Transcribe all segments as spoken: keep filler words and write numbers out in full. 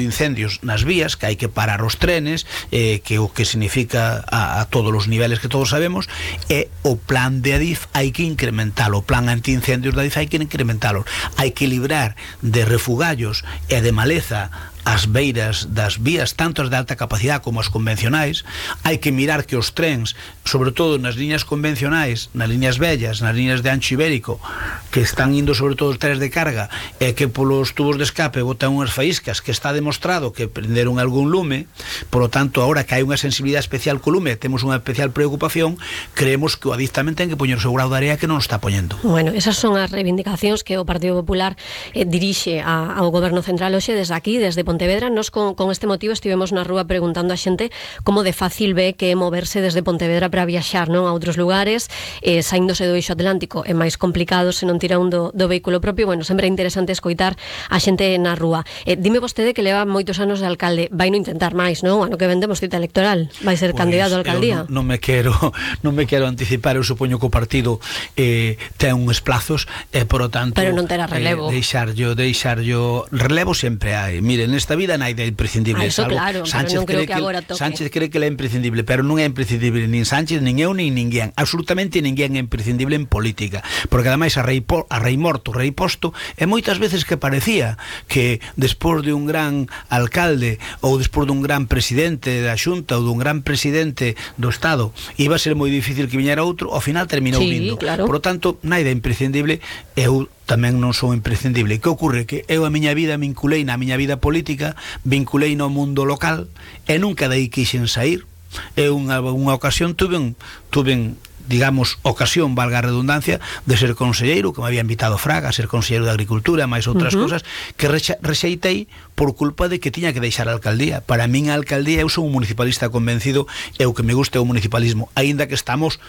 incendios nas vías, que hai que parar os trenes, eh, que o que significa a, a todos os niveles que todos sabemos, e o plan de Adif hai que incrementalo, o plan antiincendios de Adif hai que incrementalo, hai que librar de refugallos e de maleza as beiras das vías, tanto as de alta capacidade como as convencionais. Hai que mirar que os trens, sobre todo nas liñas convencionais, nas liñas vellas, nas liñas de ancho ibérico, que están indo sobre todo os trenes de carga, e que polos tubos de escape botan unhas faíscas que está demostrado que prenderon algún lume. Por lo tanto, ahora que hai unha sensibilidade especial co lume, temos unha especial preocupación, creemos que o Adif tamén ten que poñer o seu grau de area, que non está poñendo. Bueno, esas son as reivindicacións que o Partido Popular eh, dirixe a, ao Goberno Central hoxe desde aquí, desde Pontevedra. Nos con, con este motivo estivemos na rúa preguntando a xente como de fácil ve que é moverse desde Pontevedra para viaxar, non, a outros lugares, eh, saíndose do eixo atlántico é máis complicado se non tira un do, do vehículo propio. Bueno, sempre é interesante escoitar a xente na rúa. Eh, dime vostede que leva moitos anos de alcalde, vai non intentar máis, non? Ano que vendemos cita electoral, vai ser pues, candidato a alcaldía. Non, non me quero non me quero anticipar, eu supoño que o partido eh, ten uns plazos, e eh, por o tanto pero non terá relevo. Eh, deixar yo, deixar yo relevo sempre hai. Mire, nesta vida non hai de imprescindible. Ah, eso salvo, claro, Sánchez pero non creo cree que agora toque. Sánchez cree que é imprescindible, pero non é imprescindible nin Sánchez, nin eu, nin ninguén. Absolutamente ninguén é imprescindible en política, porque ademais a rei, po, a rei morto, rei posto, e moitas veces que parecía que despois de un gran alcalde ou despois dun gran presidente da Xunta ou dun gran presidente do Estado iba a ser moi difícil que viñera outro, ao final terminou sí, vindo. Claro. Por lo tanto, naida imprescindible. Eu tamén non son imprescindible. Que ocorre? Que eu a miña vida vinculei na miña vida política, vinculei no mundo local, e nunca dai quixen sair. É unha, unha ocasión tuve un, tuve digamos, ocasión, valga a redundancia, de ser conselleiro, que me había invitado Fraga a ser conselleiro de Agricultura, máis outras uh-huh. cousas, que rexa, rexeitei por culpa de que tiña que deixar a alcaldía. Para min a alcaldía, eu sou un municipalista convencido, e o que me gusta é o municipalismo, aínda que estamos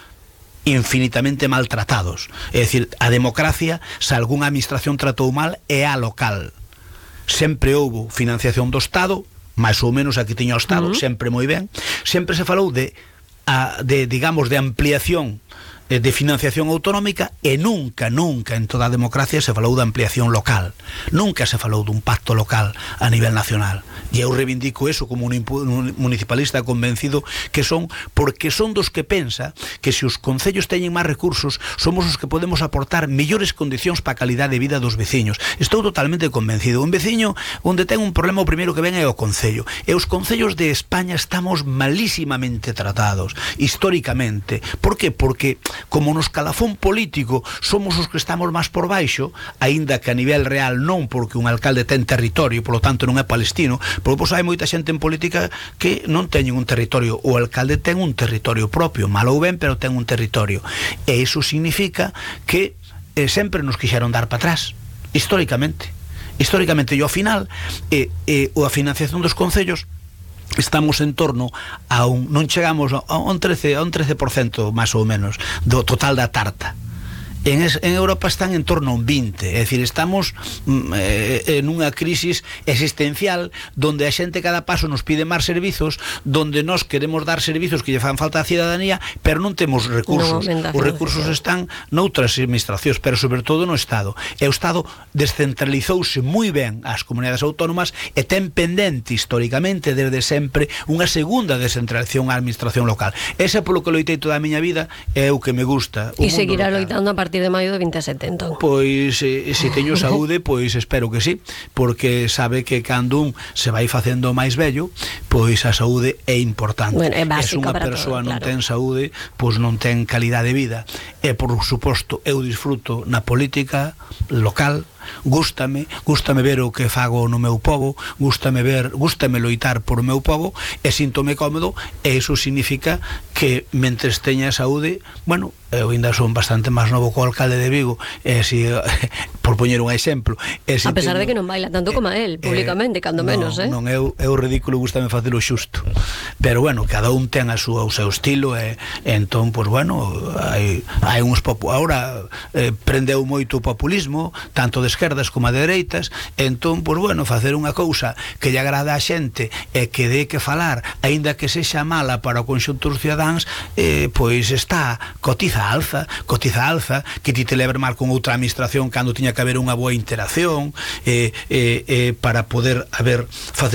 infinitamente maltratados. É dicir, a democracia, se algunha administración tratou mal, é a local. Sempre houbo financiación do Estado, máis ou menos aquí tiña o Estado, uh-huh. sempre moi ben. Sempre se falou de, a, de digamos, de ampliación de financiación autonómica, e nunca, nunca en toda a democracia se falou de ampliación local. Nunca se falou dun pacto local a nivel nacional. E eu reivindico eso como un municipalista convencido que son, porque son dos que pensa que se os concellos teñen máis recursos, somos os que podemos aportar mellores condicións para a calidade de vida dos veciños. Estou totalmente convencido. Un veciño onde ten un problema, o primeiro que ven é o concello. E os concellos de España estamos malísimamente tratados, históricamente. Por que? Porque como nos calafón político somos os que estamos máis por baixo, aínda que a nivel real non, porque un alcalde ten territorio, polo tanto non é palestino, porque pois, hai moita xente en política que non teñen un territorio. O alcalde ten un territorio propio, mal ou ben, pero ten un territorio, e iso significa que eh, sempre nos quixeron dar para atrás, históricamente históricamente, e ao final eh, eh, a financiación dos concellos estamos en torno a un, non chegamos a un trece, a un trece por cento máis ou menos do total da tarta. En, es, en Europa están en torno a un vinte, é dicir, estamos eh, en unha crisis existencial donde a xente cada paso nos pide máis servizos, donde nós queremos dar servizos que lle fan falta á cidadanía, pero non temos recursos. No, os recursos están noutras administracións, pero sobre todo no Estado. E o Estado descentralizouse moi ben ás comunidades autónomas e ten pendente históricamente desde sempre unha segunda descentralización á administración local. Ese é polo que loitei toda a miña vida, é o que me gusta. E seguirá loitando a partir de maio do vinte e sete, entón. Pois, eh, se teño saúde, pois espero que sí, porque sabe que cando un se vai facendo máis vello, pois a saúde é importante. Bueno, é básica es unha para persoa todo, non claro. ten saúde, pois non ten calidade de vida. E, por suposto, eu disfruto na política local, gústame, gústame ver o que fago no meu pobo, gústame ver, gústame loitar por o meu pobo, e síntome cómodo, e iso significa que mentres teña saúde, bueno, eu ainda son bastante máis novo co alcalde de Vigo, e si, por poñer un exemplo, e si a pesar teño, de que non baila tanto como a él, públicamente, eh, cando non, menos, eh? Non, eu, eu ridículo, gústame facelo xusto, pero bueno, cada un ten a súa, o seu estilo, e, e entón, pois bueno, hai, hai uns popu, ahora eh, prendeu moito o populismo, tanto de esquerdas como de dereitas, entón, pois bueno, facer unha cousa que lle agrada a xente e que dé que falar, aínda que sexa mala para o conxunto dos cidadáns, eh, pois está, cotiza alza, cotiza alza, que ti te leves mal con outra administración cando tiña que haber unha boa interacción, eh, eh, eh, para poder haber facer